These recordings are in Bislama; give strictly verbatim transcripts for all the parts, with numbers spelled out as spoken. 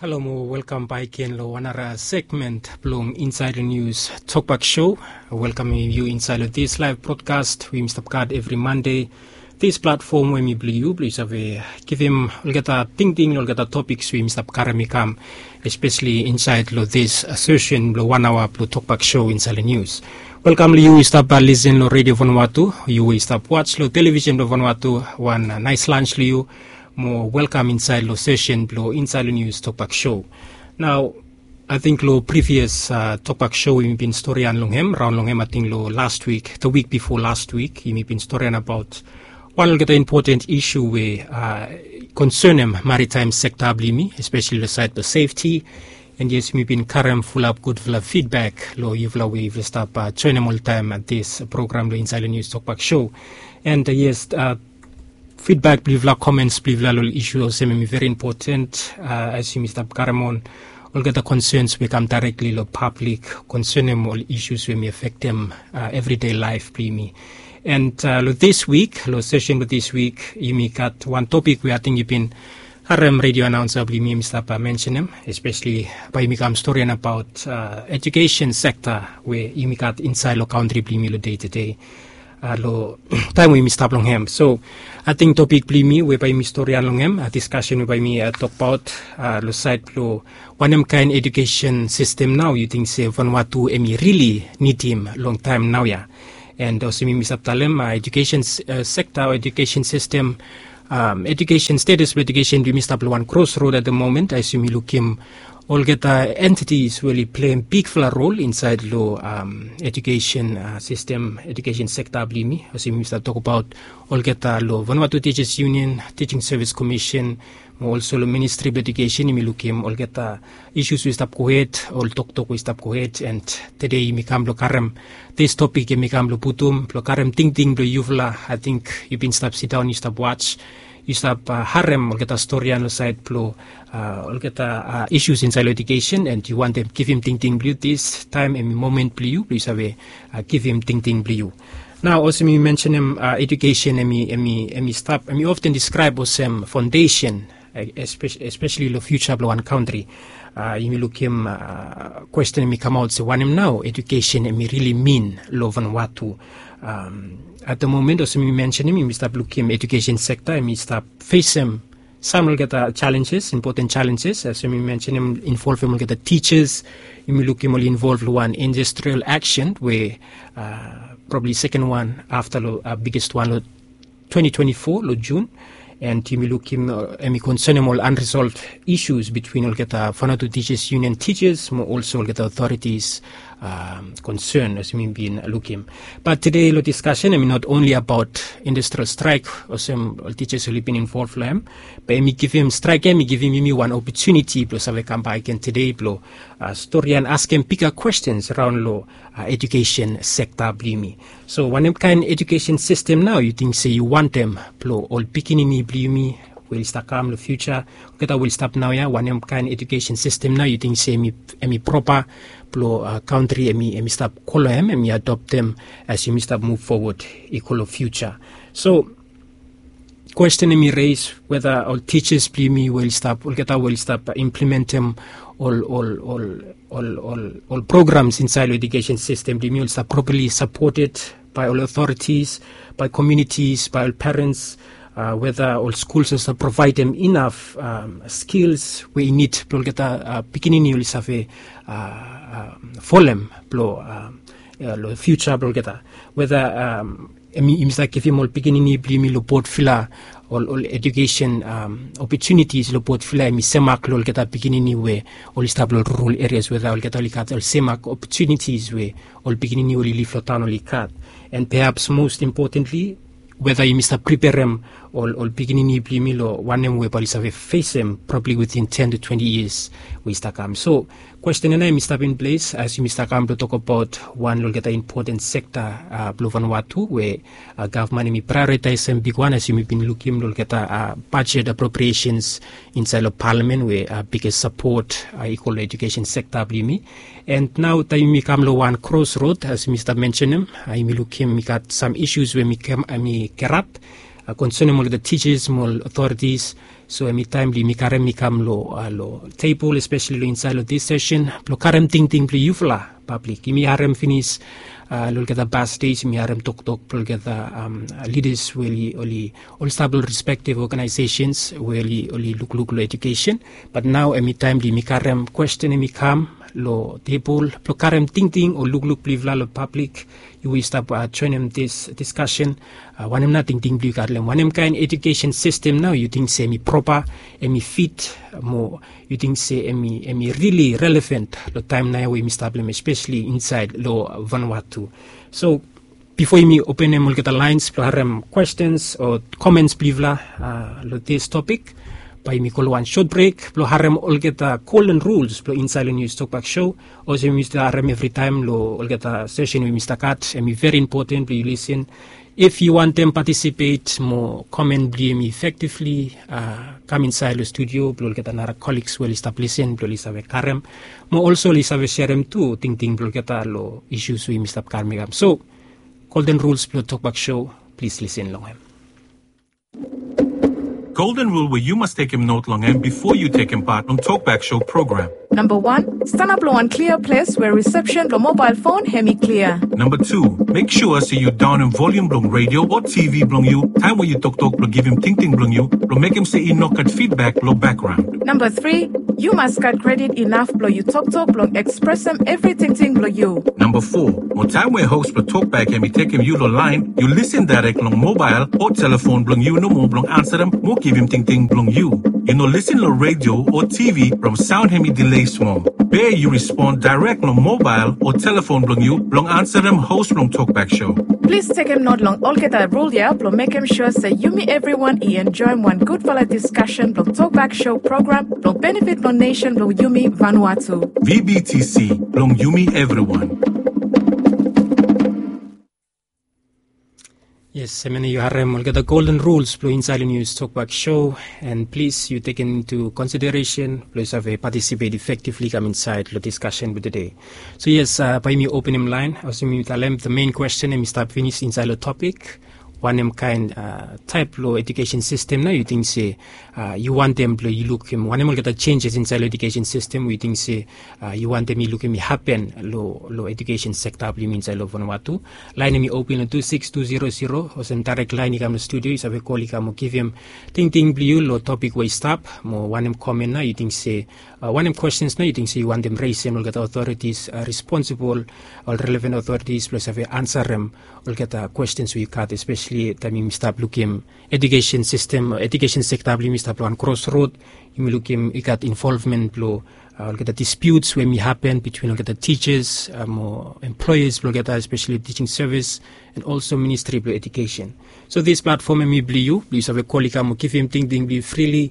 Halo mo welkam bak gen long wan nara segment blong Insaed long Nius Tokbak Show. Welkamem yu insaed long this live broadcast we yumi stap gat evri Mande. This platform we mi blong yu blong yu save givim olgeta tingting long olgeta topiks we yumi stap karem i kam, especially insaed long this session blong wan aoa blong Tokbak Show insaed long nius. Welkam long yu i stap lisen long Redio Vanuatu, yu we i stap wats long televisen blong Vanuatu, wan naes lans long yu. Mo welkam insaed long session blong Insaed long Nius Tokbak Show. Nao, ating long previous Tokbak Show yumi bin storian long hem, raon long hem, ating long last week, the week before last week, yumi bin storian abaot wan olgeta impoten isu we konsenem maritaem sekta blong yumi, especially long saed blong sefti. And yes, yumi bin karem fulap gudfala fidbak long yufala we yufala stap joenem oltaem this program long Insaed long Nius Tokbak Show. And yes, fidbak blong yufala, komens blong yufala long isu olsem hem i veri impoten as yumi stap karem on olgeta konsens we i kam daerekli long pablik konsenem ol isus we hem i afektem evridei laef blong yumi. And long this week, long session blong this week, yumi gat wan topik we ating yu bin harem redio anaonsa blong yumi hem i stap mensenem, especially bae yumi kam storian abaot ejukesen sekta we yumi gat insaed long kantri blong yumi long dei tedei, long taem we yumi stap long hem. So ating topik blong yumi we bae yumi storian long hem, diskasen we bae yumi tokbaot long saed blong wanem kaen ejukesen sistem nao yu ting se Vanuatu hem i rili nidim long taem naoia. And olsem yumi stap talem, ejukesen sekta o ejukesen sistem, ejukesen status blong ejukesen blong yumi stap long wan krosrod at the moment as yumi lukim olgeta entities we oli pleim bigfala rol insaed long ejukesen sistem, ejukesen sekta blong yumi. Olsem yumi stap tokbaot olgeta long Vanuatu Teachers Union, Teaching Service Commission, mo olso long Ministri blong Ejukesen yumi lukim olgeta isus we i stap gohed, ol toktok we i stap gohed. And tedei yumi kam blong karem this topik, yumi kam blong putum blong karem tingting blong yufala. Ating yu bin stap sidaon, yu stap wats, yu stap harem olgeta storian long saed blong olgeta isus insaed long ejukesen, and yu wantem givim tingting blong yu, this taem hem i momen blong yu blong yu save givim tingting blong yu. Nao olsem mi mensenem, ejukesen hem i, hem i stap, hem i often diskraeb olsem faondesen, especially long fiuja blong wan kantri. Yumi lukim kwesten hem i kamaot se wanem nao ejukesen hem i rili min long Vanuatu. At the moment olsem mi mensenem, yumi stap lukim ejukesen sekta hem i stap fesem sam olgeta jalenjes, impoten jalenjes, olsem mi mensenem, involvem olgeta tijas. Yumi lukim oli involv long wan industrial aksen we probably seken wan afta long biges wan long twenti twenti fo long Jun. And yumi lukim hem i konsenem ol unresolved isus bitwin olgeta Vanuatu Teachers Union tijas mo olso olgeta authorities konsen olsem yumi bin lukim. Bat tedei long diskasen hem i not only abaot industrial straek olsem ol tijas oli bin involv long hem, be hem i givim, straek ya hem i givim yumi wan opotuniti blong save kambak gen tedei blong storian, askem biga kwestens raon long ejukesen sekta blong yumi. So wanem kaen ejukesen sistem nao yu ting se yu wantem blong ol pikinini blong yumi we oli stap kam long fiuja, olgeta we oli stap naoia, wanem kaen ejukesen sistem nao yu ting se hem i propa blong kantri hem i stap go long hem, hem i adoptem as yumi stap muv fowod i go long fiuja? So kwesten hem i reis weta ol tijas blong yumi we oli stap, olgeta we oli stap implementem ol, ol, ol ol, ol, ol programs insaed long ejukesen sistem blong yumi oli stap properli sapoted bae ol authorities, bae komunitis, bae ol perens, weta ol skuls oli stap provaedem inaf skils we i nid blong olgeta pikinini oli save folem blong long fiuja blong olgeta. Weta yumi stap givim ol pikinini blong yumi long botfala ol, ol ejukesen opotunitis long botfala hem i semak long olgeta pikinini we oli stap long rural areas, weta olgeta oli gat ol semak opotunitis we ol pikinini we oli liv long taon oli gat. And perhaps most importantly, weta yumi stap preperem ol, ol pikinini blong yumi long wanem we bae oli save fesem probably within ten to twenty years we i stap kam. So kwesten ya nao hem i stap in ples as yumi stap kam blong tokbaot wan long olgeta impoten sekta blong Vanuatu we gavman hem i praeoritaesem bigwan as yumi bin lukim long olgeta bajet apropriesens insaed long palamen we biges sapot i go long ejukesen sekta blong yumi. And nao taem yumi kam long wan krosrod as yumi stap mensenem, yumi lukim i gat sam isus we hem i gerap konsenem olgeta tijas mo ol otoritis. So hemi taem blong yumi karem i kam long tebol, espeseli long insaed long dis sesen blong karem tingting blong yufala pablik. Yumi harem finis long olgeta past dej, yumi harem toktok blong olgeta lidas we oli oli stap long respektiv oganaesesens we oli lukluk long ejukesen. Bat nao hemi taem blong yumi karem kwesten hemi kam long tebol blong karem tingting o lukluk blong yufala long pablik. Yu we yu stap joenem dis diskasen, wanem nao tingting blong yu gat long hem? Wanem kaen ejukesen sistem nao yu ting se hemi propa, hemi fit, mo yu ting se hemi rili relevan long taem nao we yumi stap long hem, espeseli insaed long Vanuatu? So bifo yumi openem olgeta laens blong harem kwestens o komens blong yufala long dis topik, bae yumi go long wan sot brek blong harem olgeta golden rules blong insaed long Nius Tokbak Sho. Olsem yumi stap harem evritaem long olgeta sesen we yumi stap gat, hemi veri impoten blong yu lisin. If yu wantem patisipet mo komen blong yumi efektivli, kam insaed long studio blong olgeta nara koligs we oli stap lisin blong oli save karem, mo olso oli save serem tu tingting blong olgeta long isus we yumi stap karem i kam. So, golden rules blong Tokbak Sho, plis lisin long hem. Golden rule we yu mas tekem not long hem bifo yu tekem pat long Tokbak Sho program. Namba wan, stanap long wan klia ples we risepsen blong mobael fon hemi klia. Namba tu, mek sua se yu daonem volium blong redio o TV blong yu taem we yu toktok blong givim tingting blong yu, blong mekem se i no gat fidbak long bakgraon. Namba tri, yu mas gat kredit inaf blong yu toktok blong ekspresem evri tingting blong yu. Namba fo, mo taem we hos blong Tokbak hemi tekem yu long laen, yu lisin daerek long mobael o telefon blong yu nomo blong ansarem mo givim tingting blong yu. Yu no lisin long redio o TV from saon hemi dile smol. Be yu rispon daerek long mobael o telefon blong yu blong ansarem hos blong Tokbak Sho. Plis tekem not long olgeta rul ya blong mekem sua se yumi evriwan i enjoem wan gudfala diskasen blong Tokbak Sho program blong benefit blong nesen blong yumi Vanuatu. VBTC, blong yumi evriwan. Yes, hemia nao yu harem olgeta golden rules blong insaed long Nius Tokbak Sho, and plis yu tekem intu konsideresen blong yu save patisipet efektivli kam insaed long diskasen blong tede. So yes, bae yumi openem laen, olsem yumi talem, the main kwesten hemi stap finis insaed long topik. Wanem kaen taep blong ejukesen sistem nao yu ting se yu wantem blong yu lukim? Wanem olgeta jenjes insaed long ejukesen sistem we yu ting se yu wantem yu lukim i hapen long ejukesen sekta blong yumi insaed long Vanuatu? Laen hemi open long tu siks tu zero zero, olsem daerek laen i kam long studio, yu save kol i kam mo givim tingting blong yu long topik we i stap, mo wanem komen nao yu ting se, wanem kwestens nao yu ting se yu wantem resem long olgeta otoritis responsibol, ol relevan otoritis blong save ansarem olgeta kwestens we yu gat, espeseli taem yumi stap lukim ejukesen sistem, ejukesen sekta blong yumi stap long wan krosrod. Yumi lukim i gat involvmen blong olgeta dispiuts we hemi hapen bitwin olgeta tijas mo employas blong olgeta, espeseli Teaching Service and also Ministri blong Ejukesen. So dis platfom hemi blong yu blong yu save kol i kam mo givim tingting blong yu frili,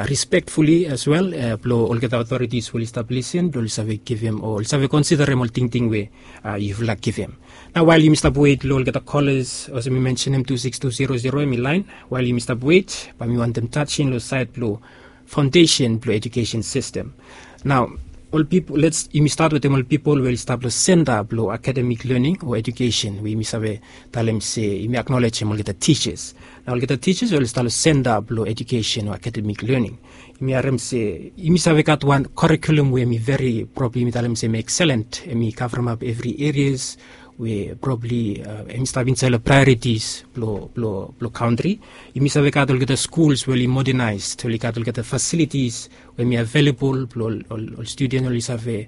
respektfuli as well, blong olgeta otoritis we oli stap lisin blong oli save givim o oli save konsiderem ol tingting we yufala givim. Nao wael yumi stap wet long olgeta kolas, olsem mi mensenem, tu siks tu zero zero hemi laen. Wael yumi stap wet, bae mi wantem tajen long saed blong faondesen blong ejukesen sistem. Nao ol pipol, lets, yumi stat wetem ol pipol we oli stap long senta blong akademik lening o ejukesen, we yumi save talem se yumi aknolejem olgeta tijas. Nao olgeta tijas we oli stap long senta blong ejukesen o akademik lening, yumi harem se yumi save gat wan kurikulum we hemi veri, probabli yumi talem se hemi ekselen, hemi kavremap evri erias we probabli hemi stap insaed long praeoritis blong kantri. Yumi save gat olgeta skuls we oli modernaes, oli gat olgeta fasilitis we hemi avelabol blong ol studen oli save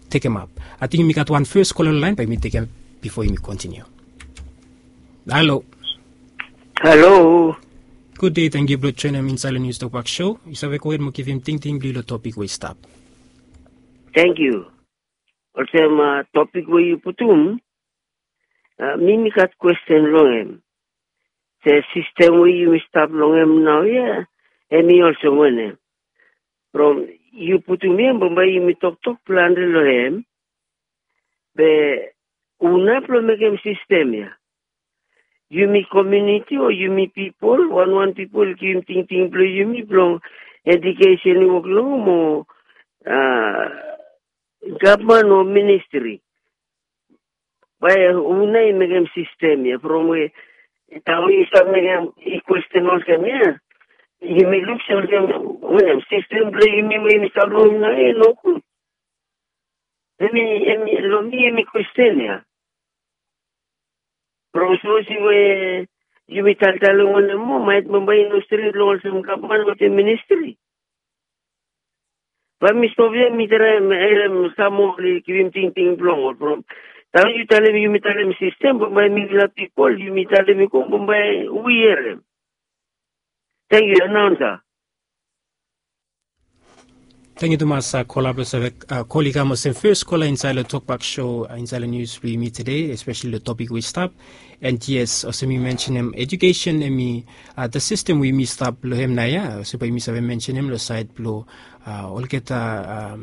tekemap. Ating yumi gat wan fes kola long laen, bae yumi tekem bifo yumi kontiniu. Halo. Halo. Gud dei, tangkiu blong joenem insaed long Nius Tokbak Sho. Yu save gohed mo givim tingting blong yu long topik we i stap. Tangkiu. Olsem topik we yu putum, mi mi gat kwesten long hem. Se sistem we yumi stap long hem naoia, hemi olsem wanem? From yu putum ya, bambae yumi toktok plante long hem. Be hu nao blong mekem sistem ya? Yumi komuniti o yumi pipol, wanwan pipol givim tingting blong yumi blong ejukesen i wok long hem o gavman o ministri? Bae hu nao i mekem sistem ya from we Taem we yu stap mekem i kwesten olsem ya, yumi luk se olsem wanem, sistem blong yumi we yumi stap long hem nao ya i nogud. Hemi, hemi long mi hemi kwesten ya. From sapos we yumi taltalem wanem moa, maet bambae i no stret long olsem gavman wetem ministri. Bae mi stop ya, mi traem harem sam moa oli givim tingting blong ol from taem yu talem, yumi talem sistem, bambae mifala pipol yumi talem i go, bambae wi harem. Tangkiu, anaunsa. Tangkiu tumas, kola blong save kol i kam olsem fes kola insaed long Tokbak Show, insaed long nius blong yumi tede, espeseli long topik we i stap. And yes, olsem mi mensenem, ejukesen hemi, the sistem we yumi stap long hem nao ya, olsem bae yumi save mensenem long saed blong olgeta,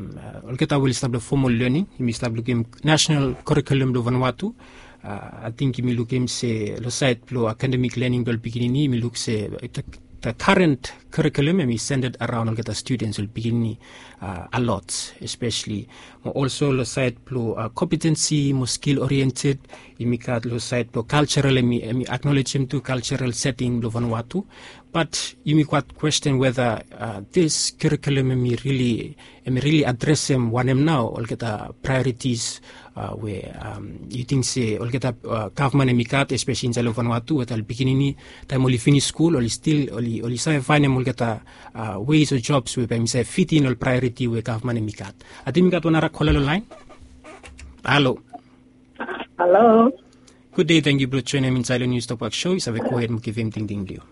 olgeta we oli stap long fomal lening, yumi stap lukim nasenal kurikulum blong Vanuatu. Ating yumi lukim se long saed blong akademik lening blong ol pikinini, yumi luk se the current curriculum hemi centered around olgeta students, ol pikinini, a lot, especially. Mo also long saed blong competency mo skill oriented, yumi gat long saed blong cultural, hemi acknowledgem tu cultural setting blong Vanuatu. But yumi gat question whether this curriculum hemi really, hemi really adresem wanem nao olgeta priorities we yu ting se olgeta gavman hemi gat, especially insaed long Vanuatu, weta ol pikinini taem oli finis skul oli stil, oli save faenem olgeta ways o jobs we bae hemi save fitim ol priority we gavman hemi gat. Ating mi gat wan nara kola long laen. Halo. Halo. Gud dei, tangkiu blong joenem insaed long nius Tokbak Show, yu save gohed mo givim tingting blong yu.